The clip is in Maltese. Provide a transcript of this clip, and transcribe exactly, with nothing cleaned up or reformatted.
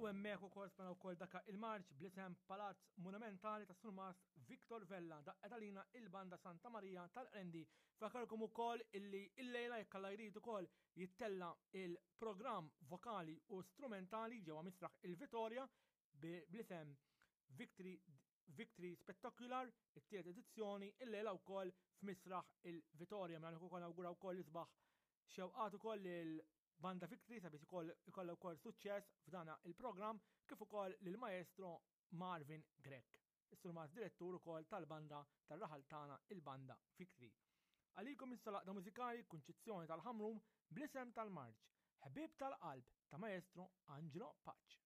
U hemmhekk ukoll smajna wkoll daka il-marċ bl-isem Palazz Monumentali ta' Surmast Victor Vella daqqet għalina il-Banda Santa Maria tal-Qrendi. Fakarkom ukoll illi illejla jekk Alla jrid ukoll jittella il-programm vokali u strumentali ġewwa Misraħ il-Vitorja bl-isem Victory Victory Spectacular, it-tielet edizzjoni, illejla wkoll f'Misraħ il-Vitorja. Mela ukoll nawgura wkoll isbaħ xewqat ukoll lil Banda Victory sabiex ikollha wkoll suċċess f'dana il-programm kif ukoll lil maestro Marvin Grech. Is-surmast direttur ukoll tal-banda tar-raħal tagħna il-Banda Victory. Għalikom issa l-għaqda mużikali Kunċizzjoni tal-Ħamrun bl-isem tal-Marċ, Ħbieb tal-Qalb ta' Maestro Angelo Pace.